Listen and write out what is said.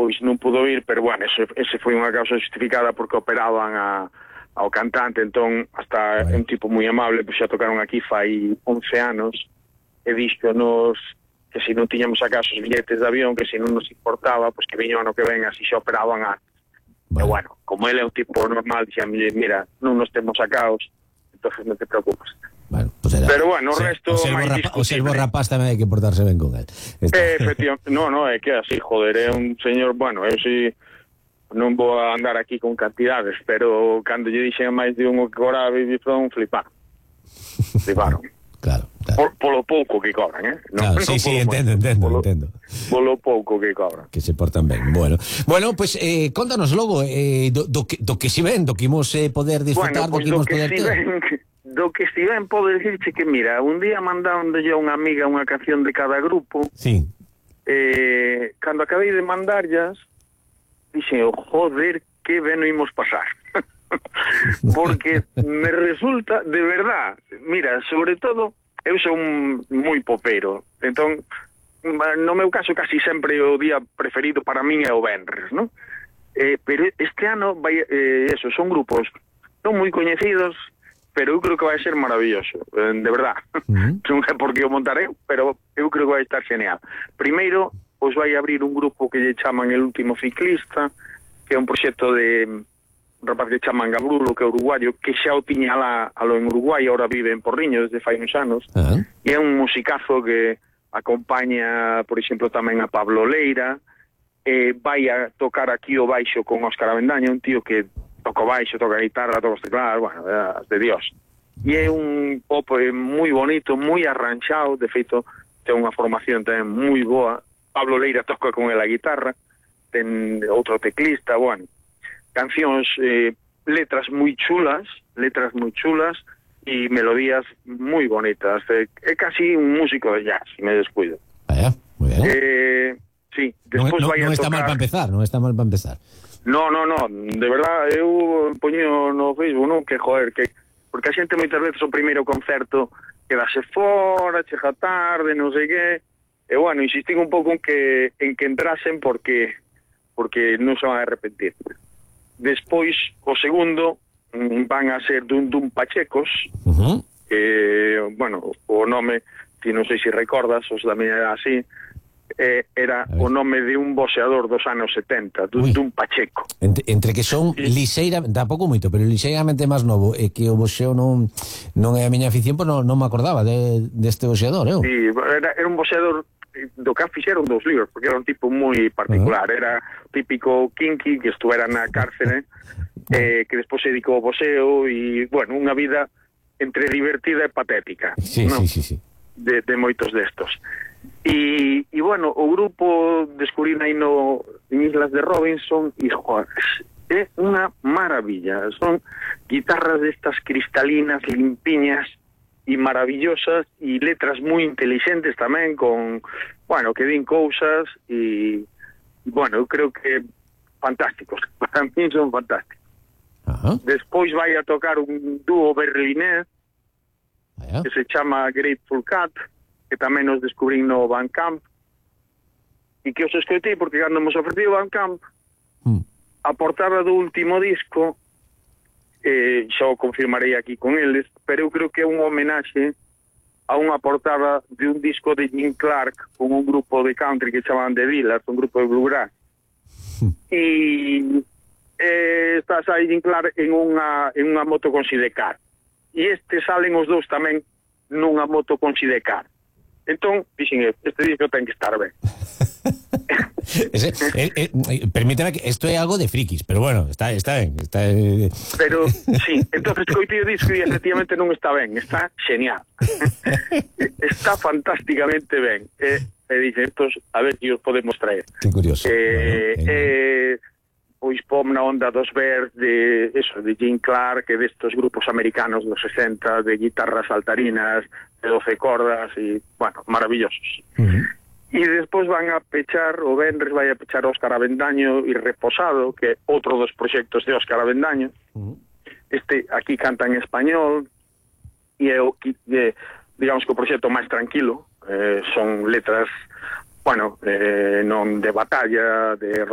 pois non pudo ir, pero bueno, ese foi unha causa justificada porque operaban ao cantante, entón hasta un tipo moi amable, pois xa tocaron aquí fai 11 anos e díxonos que se non tiñamos acaso os billetes de avión, que se non nos importaba, pois que viño ano que ven, así xa operaban antes. E bueno, como ele é un tipo normal, dixame, mira, non nos temos sacaos, entonces non te preocupes. Bueno, pues era, pero bueno, o resto máis discutible. O servo rapaz tamén hai que portarse ben con él. Efectivamente, no, é que así, joder, é un señor, bueno, eu si non vou a andar aquí con cantidades, pero cando lle dixen máis de un o que cobraba Baby From, fliparon. Claro. Polo pouco que cobran, Claro, sí, entendo. Polo pouco que cobran. Que se portan ben. Bueno, pues contanos logo do que si ven, do que imos poder disfrutar, do que imos poder ter. Do que si ven, podo dicirche que, mira, un día mandáronlle a unha amiga unha canción de cada grupo. Sí. Cando acabei de mandarllas, dixen, joder, que ben o imos pasar. Porque me resulta, de verdad, mira, sobre todo, eu son moi popero, entón, no meu caso, casi sempre o día preferido para min é o venres, non? Pero este ano, son grupos non moi coñecidos, pero eu creo que vai ser maravilloso, de verdad. Non é porque o montarei, pero eu creo que vai estar genial. Primeiro, os vai abrir un grupo que lle chaman El Último Ciclista, que é un proxecto de un rapaz que chaman Gabrulo, que é uruguayo, que xa o tiña alo en Uruguai, ahora vive en Porriño desde fai uns anos, e é un musicazo que acompaña, por exemplo, tamén a Pablo Leira, vai a tocar aquí o baixo con Óscar Avendaño, un tío que toca o baixo, toca a guitarra, toca os teclados, bueno, de Dios. E é un pop moi bonito, moi arranxado, de feito, ten unha formación tamén moi boa. Pablo Leira toca con el a guitarra, ten outro teclista, bueno, cancións, letras moi chulas e melodías moi bonitas. É casi un músico de jazz, me descuido. Moi ben. Sí, despois vai a tocar... Non está mal para empezar. No, de verdad, eu poño no Facebook, non, que joder, porque a xente moitas veces o primeiro concerto quedase fora, chega tarde, non sei que, e bueno, insistín un pouco en que entrasen porque non se van a arrepentir. Despois, o segundo, van a ser Dum Pachecos, que, bueno, o nome, ti non sei se recordas, os da miña era así, era o nome de un boxeador dos anos 70, Dum Pacheco. Entre que son liseiramente, tampouco moito, pero liseiramente máis novo, e que o boxeo non é a miña afición, pois non me acordaba deste boxeador, eu. Sí, era un boxeador do que fixeron 2 libros, porque era un tipo moi particular, era típico kinky que estuvera na cárcere, que despois se dedicou ao boxeo, e, bueno, unha vida entre divertida e patética. Sí. De moitos destos. E bueno, o grupo descubrín aí en Islas de Robinson e, joder, é unha maravilla. Son guitarras destas cristalinas, limpiñas e maravillosas, e letras moi inteligentes tamén, con, bueno, que din cousas, e, bueno, eu creo que fantásticos. Para mí son fantásticos. Despois vai a tocar un dúo berlinés que se chama Grateful Cat, que tamén nos descubrín no Bandcamp, e que os escoitei porque cando nos ofrecido o Bandcamp, a portada do último disco, xa o confirmarei aquí con eles, pero eu creo que é un homenaxe a unha portada de un disco de Jim Clark con un grupo de country que chamaban The Villars, un grupo de bluegrass. E estás aí Jim Clark en unha moto con sidecar. E salen os dous tamén nunha moto con sidecar. Entón, dixen, este disco ten que estar ben. Permíteme que isto é algo de frikis, pero bueno, está ben. Pero, sí, entonces coitei o disco e efectivamente non está ben, está genial. Está fantásticamente ben. E dixen, estos, a ver que os podemos traer. Que curioso. Pois pom na onda dos Bears, de Jim Clark, e destos grupos americanos dos 60, de guitarras saltarinas, de 12 cordas, e, bueno, maravillosos. E despois van a pechar, o venres vai a pechar Óscar Avendaño e Reposado, que é outro dos proxectos de Óscar Avendaño. Aquí canta en español, e é digamos que o proxecto máis tranquilo, son letras, bueno, non de batalla, de